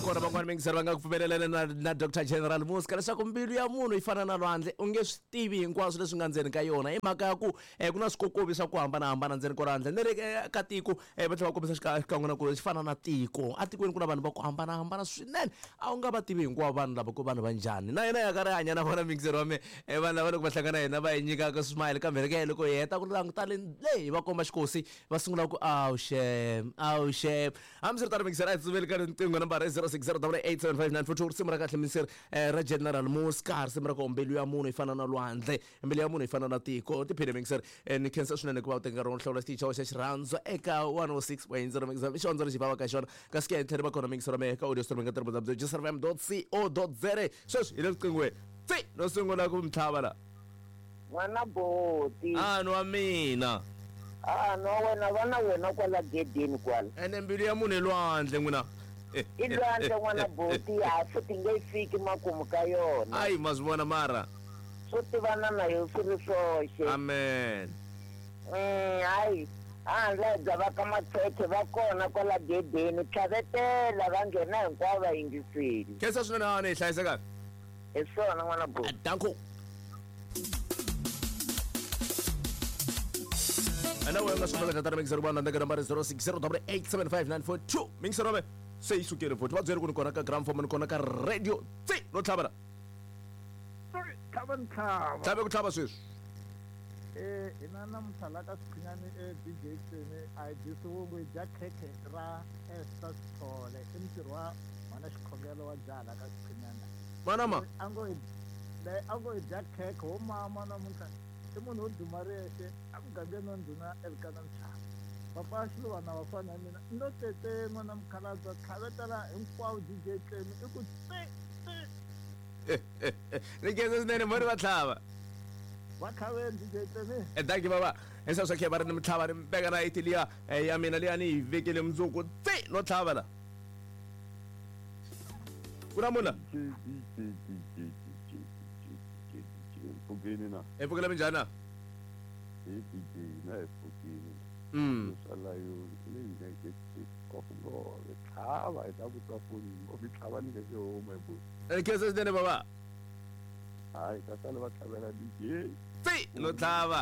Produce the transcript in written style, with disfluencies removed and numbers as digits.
Kona van'wana mingiseri va nga ku pfumelelana na Dr General Muska leswaku mbilu ya munhu yi fana na lwandle, u nge swi tivi hinkwaswo leswi nga ndzeni ka yona hi mhaka ya ku ku na swikokovi swa ku hambanahambana ndzeni ka lwandle. Ni ri ka tiko va tlhela va kombisa xikan'we na ku xi fana na tiko. Etikweni ku na vanhu va ku hambanahambana swinene, a wu nga va tivi hinkwavo vanhu lava ku vanhu va njhani. Na yena ya karhi hanya na vona mingiseri wa mina vanhu lava loko va hlangana na hina va hi nyikaka smile kambe ke loko hi heta ku languta le hi va komba xikosi va sungula ku awu xem, awu xem. Hambiswiritano mingiseri a hi tsutsumeli ka riqingho nambara i 0608875942 risimu ra kahle mingiseri ra General Muska risimu ra ku mbilu ya munhu yi fana na lwandle mbilu ya munhu yi fana na tiko tiphine mingiseri ni khensa swinene ku va u teka nkarhi wo hlawula xitichi xa wena xa xirhandzu eka 106.0 mingiseri i xihondzo lexi va ka xona kasi ke hi tlhela va kona mingiseri wa mehe ka audio streaming ka www.jfm.co.za sweswi hi le riqinghweni tsi no sungula ku mi tlhava la. N'wana boti. A nwa mina. A nwa wena va na wena kwala gedeni kwala. Ene mbilu ya munhu i lwandle n'wina. I lwandle n'wana boti ha futhi nge yi fiki makumu ka yona. Ayi ma swi vona mara. Swo tivana na yo swi ri swoxe. Amen. Hayi handle bya va ka Matshekhe va kona kwala gedeni tlhavetela va nghena hinkwavo va yingiseli. Khensa swinene a ni hi hlayise kahle. Hi swona n'wana boti. Danko. Ana wena nga swi kota ku mixer vana ndeka nambara 0608875942 mixer wa se yi sukile futhi va byele ku ni kona ka gramophone ni kona ka radio tsi no tlhava la Tlhava ni tlhava. Tlhave ku tlhava sweswi. Hina namuntlha la ka Swikhwinyani DJ Tsemi a hi dyi swivungu hi dya khekhe ra Esther Sithole i mutirhi wa mhana xikhongelo wa jaha la ka Swikhwinyani. Mana ma. A ngo hi leyi a ngo hi dya khekhe wo mama namuntlha i munhu wo duma riyexe emugangeni wa ndhuna Elkana Mchava. Papa Xiluvana vafana ya mina no tete n'wana mukhalabye tlhavetela hinkwavo DJ Tlemi i ku tsi tsi. Ni khensa swinene mhani va tlhava. Va tlhaveni DJ Tlemi. Danki baba. Hi swa khe va ri ni mitlhava ni veka na yiti liya ya mina liya ni yi vekele mundzuku tsi no tlhava la. Ku na munhu la? Mpfukeni na. Hi pfukile minjhani na? Hi DJ na hi pfukile. Swa layoni leyi nga ke ngove tlhava hi ta ku twa foni ngopfu tlhava ni nge se huma hi buti. Khensa swinene baba. Hayi ta sala va tlhavela DJ. Tsi no tlhava.